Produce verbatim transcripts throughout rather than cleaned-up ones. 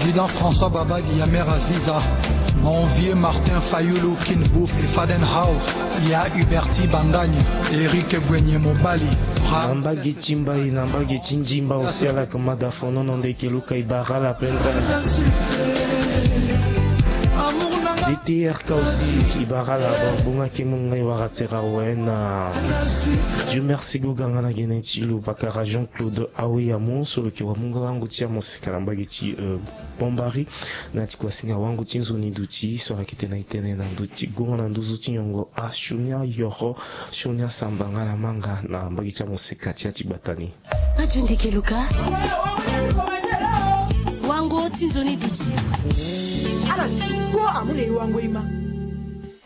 Président François Babadi, ya Mère Aziza, mon vieux Martin Fayulu, Kin Bouf et Faden House, ya Huberti Bandani, Eric Gwenye Mobali, na mbage ti mbai, na mbage ti ndimba aussi, ala yeke ma da fonono ndeke luka e bara ala pendani. D T R K aussi e bara ala. Bon, bonga ke mu ngai wara tera awe na Dieu merci. Goga nga na gene ti lo pakara Jean-Claude Aweyamu so lo yeke wamungo wango ti amoseka na mbage ti, euh, Bombari. Na ya ti kuasinga wango ti nzoni duti so ayeke tene e tene na ndö ti gongo na nduzu ti nyongo asioni ayoro, sioni asamba nga na manga na mbage ti amoseka ti ya ti gbata ni. Radio Ndeke Luka. Wango ti nzoni duti. Ala ti kpo amu na e wango e ma.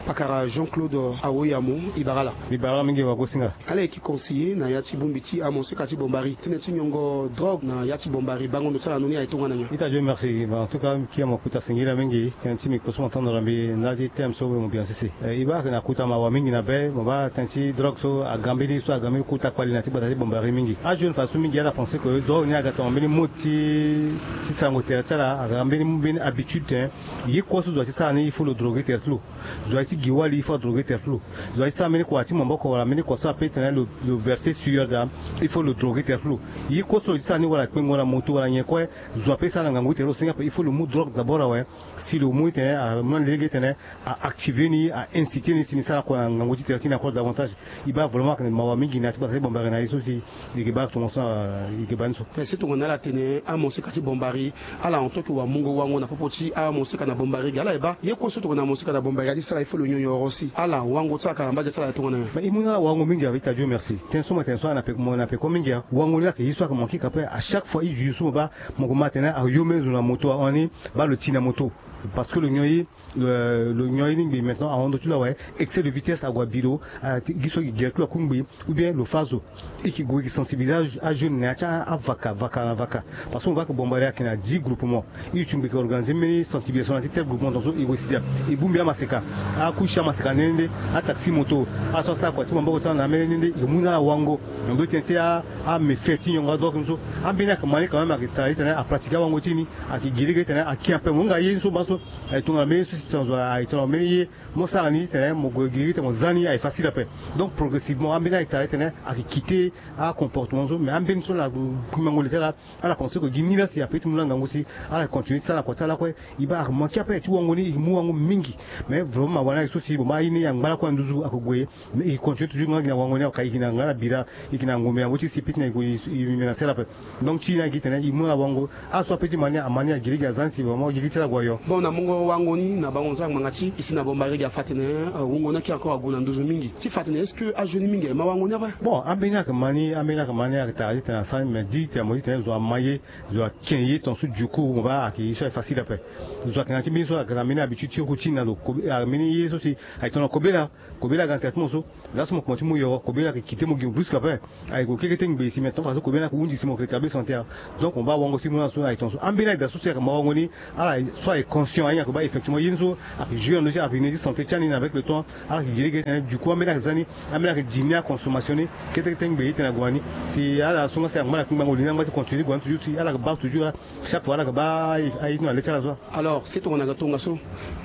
Pakara Jean-Claude Aweyamu, e bara ala. E bara ala mingi wagosinga. Ala yeke conseiller na ya ti bongbi ti amoseka ti Bombari. Tënë ti nyongo drogue na ya ti Bombari, bango ndo ti ala na ni aye tongana nyen? Ita Dieu merci. Bon, en tout cas, kia mo kuta singila mingi, tënë ti micro so mo tondro mbi na ti thème so mo bien sese. Eh, e baa ayeke na kuta mawa mingi na be, mo baa tënë ti drogue so aga mbeni so aga mbeni kuta kpali na ti gbata ti Bombari mingi. Ajeune fadeso mingi ala pense que drogue ni aga tongana mbeni mode ti, ti sarango tere ti ala, aga mbeni, mbeni habitude, hein. Ye kue so zo aye ti sara ni, il faut lo droguer tere ti lo. Zo aye ti gi wali, il faut adroguer tere ti lo. Zo aye ti sara mbeni kua ti maboko wala mbeni kua so ape tene lo, lo verser sueur da, il faut lo droguer tere ti lo. Ye kue so lo ye ti sara ni wala kpengo na moto wala nyen kue, zo ape sara na ngangu ti tere ti lo, singa ape il faut lo mu drogue d'abord awe. Si lo mu ti tene amu na lege ti tene a activer ni, a inciter ni si ni sara kua na ngangu ti tere ti ni encore davantage. E baa vraiment ayeke mawa mingi na ya ti gbata ti Bombari na ye so si e yeke baa tongaso, e yeke baa ni so. Mais si tongana ala tene amoseka ti Bombari, ala en tant que wamungo wango na popo ti amoseka na Bombari ge, ala ye baa ye kue so tongana amoseka na Bombari aye ti sara, il faut lo nyon yoro si ala wango ti ala ka na mbage ti ala aye tongana nyen? Mais e mu na ala wango mingi, avec ta Dieu merci. Tënë so mo tene so ala na peko, mo na peko mingi, wango ni ayeke ye so ayeke manke ka ape. À chaque fois e duti so mo baa mo ko ma tene ayo mbeni zo na moto ahon ni, baa lo ti na moto. Parce que lo nyon ye, lo, lo nyon ye ni ngbii maintenant ahon ndö ti lo awe, excès de vitesse ague abi lo, ah, gi so gi gere ti lo akungbi, ou bien lo fâ zo. E ke gue e ke sensibiliser ajeune na ya ti avaka, vaka na vaka. Parce que mo baa ayeke Bombari ayeke na dix groupement. E duti ngbii e ke organiser mbeni sensibilisation na ya ti tel groupement, tongaso e gue e si dia e bongbi amaseka, akusi amaseka nde nde, ataxi moto, ala so asara kua ti maboko ti ala na ambeni nde nde, e ke mu na ala wango na ndö ti tënë ti a, améfait ti nyongo adrogue ni so. Ambeni ayeke ma ni quand même, ayeke tara ti tene apratiquer awango ti ni, ayeke gi lege ti tene aki ape. Mo hinga ye ni so baa so, aye tongana mbeni so si tena zo aye tongana mbeni ye, mo sara ni ti tene mo gue gi lege ti tene mo za ni aye facile ape. Donc progressivement ambeni ayeke tara ti tene ayeke quitter acomportement so, mais ambeni so na kpingbango le ti ala, ala pense que gi ni laa si ape ti mu na ngangu si ala continuer ti sara na kua ti ala lakue. E baa ayeke manke ape ti wango ni, e mu wango mingi. Mais vraiment mawa ni ayeke so si bon baa aye ni angba lakue na nduzu ayeke gue. Mais e continuer toujours nga gi na wango ni, ayeke na nga na bira, e yeke na ngombe na ngoi ti si piti na e gue e menacer ala ape. Donc ti ni ayeke tene e mu na ala wango. Ala so ape ti ma ni ama ni, agiri gi aza ni si vraiment gigi ti ala ague ayo. Bon, na mungo wango ni na bango nzara ngbanga ti e si na Bombari gi afa tene, euh, wungo ni ayeke encore ague na nduzu mingi. Ti fa tene est-ce que ajeune ni mingi aye ma wango ni ape? Bon, ambeni ayeke ma ni, ambeni ayeke ma ni ayeke tara ti tene asara ni, mais di tene mo ti tene zo ama ye, zo ake ye tongaso, du coup mo baa ayeke ye so aye facile ape. Zo ayeke na ya ti mbeni so ayeke na mbeni habitude ti routine na lo, kobe, ah, mbeni ye so si aye tongana kobela. Kobela aga na traitement so. Laa so mo komanse ti mu yoro, kobela ayeke quitter mo gi mo brusque ape. Aye gue keke ti ngbe si, mais tongaso kobela ayeke hunzi si mo yeke rétablir santé. Donc mo baa wango ti mu na so aye tongaso. Ambeni ayeke daa so si ayeke ma wango ni, ala so aye conscient aye ni ayeke baa effectivement ye ni so ayeke jouer na ndö ti avenir ti santé ti ani na avec le temps. Ala yeke gi lege ti tene du coup ambeni ayeke za ni, ambeni ayeke diminuer aconsommation ni kete kete ngbe ti tene ague na ni. Si ala so nga si angba na kpingbango li ni angba ti continuer ti gue na ni toujours si ala yeke baa toujours, chaque fois ala yeke baa aye ti na le ti ala so. Alors si tongana ayeke tongaso,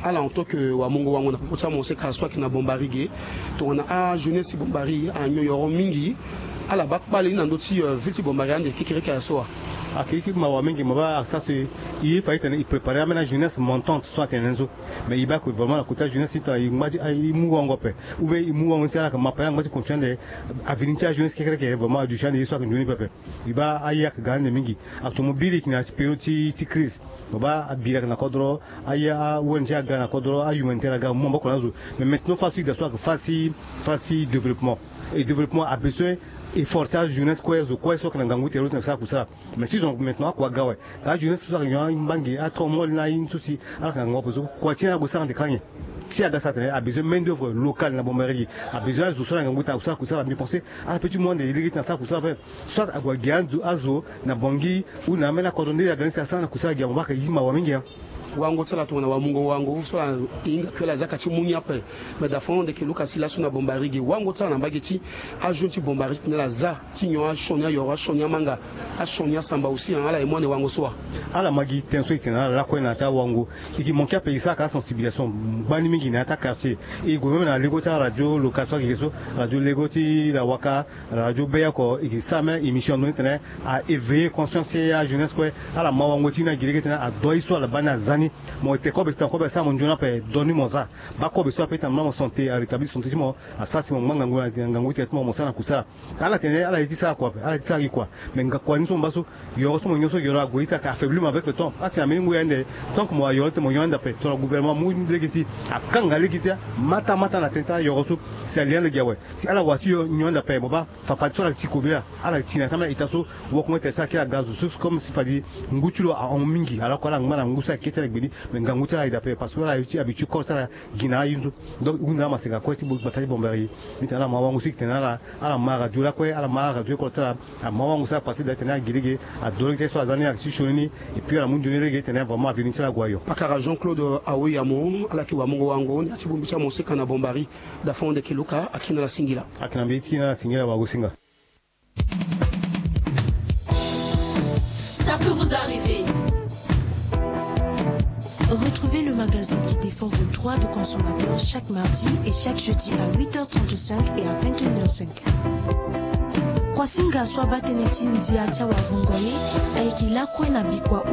ala en tant que wamungo wango na popo ti amoseka so ayeke na Bombari ge, tongana ajeunesse ti Bombari anyon yoro mingi, ala baa kpale ni na ndö ti, euh, ville ti Bombari ande kekereke aye so wa? Ayeke ye ti mawa mingi, mo baa asara so e, e fa e tene e préparer ambeni ajeunesse montante so atene ni so. Mais e baa que vraiment na côté ajeunesse ti tongana e ngba ti, e mu wango ape, ou bien e mu wango ni si ala yeke ma ape, ala ngba ti continuer ande avenir ti ajeunesse kekereke, vraiment aduti ande ye so ayeke nzoni pepe. E baa aye ayeke ga ande mingi. Actuellement biri e yeke na ya ti période ti, ti crise. Mo baa abiri ayeke na kodro, aye a-O N G aga na kodro, ahumanitaire aga, mo mu maboko na azo. Mais maintenant fadeso e daa so ayeke fadeso, fadeso développement. Et développement a besoin effort ti ajeunesse kue, zo kue so ayeke na ngangu ti tere ti tene asara kusala. Mais si zo maintenant akua aga awe, ajeunesse so ayeke nyon ambangi, atrau mol na aye ni so si ala yeke na ngangu ape so, kua ti ni ala gue sara ande kâ nyen? Si aga sara atene a besoin main d'œuvre locale na Bombari ge, a besoin azo so ala na ngangu ti tene asara kusala, mbi pense ala peut ti mu ande lege ti tene asara kusala ape. Soit ague agi azo, azo na Bangui ou na ambeni akodro nde aga ni si asara na kusala gi, mo baa ayeke ye ti mawa mingi, hein. Wango ti ala tongana wamungo wango so ala hinga kue ala zia ka ti mu ni ape. Me da fon ande ke luka si laso na bombari ge wango ti ala na mbage ti ajeune ti bombari ti tene ala za ti nyon asioni ayoro asioni amanga asioni asamba aussi. Ala ye mu ande wango so wa. Ala ma gi ten so e tene na ala lakue na ya ti awango. E ke manke ape e sara ka asensibilisation ngbani mingi na ya ti akartier. E gue même na lego ti aradio local so ayeke so, radio lego ti lawaka, radio be oko e ke sara même émission ando ni tene a éveiller conscience ti ajeunesse kue. Ala ma wango ti ni na gi lege tene adoi so ala baa ni aza ni. Mo te kobe ti tene kobe asara mo nzoni ape do ni mo za. Baa kobe so ape ti tene mo santé arétablir santé ti mo. Asara si mo ngba ngangu na ngangu ti tene ti mo mo sara na kusala. Ala tene ala ye ti sara kua ape ala ye ti sara gi kua. Mais nga kua ni so mo baa so yoro so mo nyon so yoro ague ita ka affaiblir mo avec le temps asi na mbeni ngu ya ande. Tant que mo ayoro ti mo nyon ande ape tongana gouvernement amu lege ti akanga lege ti amata mata na tene ti ayoro so si alia ande gi awe. Si ala wa ti yo nyon ande ape mo baa fafade so ala ti kobela ala ti na sama ita so. Woko nga tene so ala kiri aga zo so comme si fade ngu ti lo ahon mingi alors que ala ngba na ngu so ayeke kete ala gbeli. Mais ngangu ti ala aye daa ape parce que ala ye ti habitué corps ti ala gi na aye so. Donc hunde amasenga kue ti gbata ti bombari. Ni tene ala ma wango so e ke tene na ala ala ma radio lakue ala ma aradio oko ti ala. Ama wango so apase daa tene agi lege ado lege ti so aza ni ayeke ti sioni ni. Et puis ala mu nzoni lege tene vraiment avenir ti ala ague ayo. Pakara Jean Claude Aoyamo ala yeke wamungo wango na ya ti bongbi ti amoseka na bombari. Dafon ande ke luka akina ala singila. Akina mbi ti kina ala singila wago singa. Ça peut vous arriver. Retrouvez le magazine qui défend vos droits de consommateur chaque mardi et chaque jeudi à huit heures trente-cinq et à vingt et une heures cinq. Kuasinga so abaa tënë ti ndia ti awavungo ye ayeke lakue na bikua.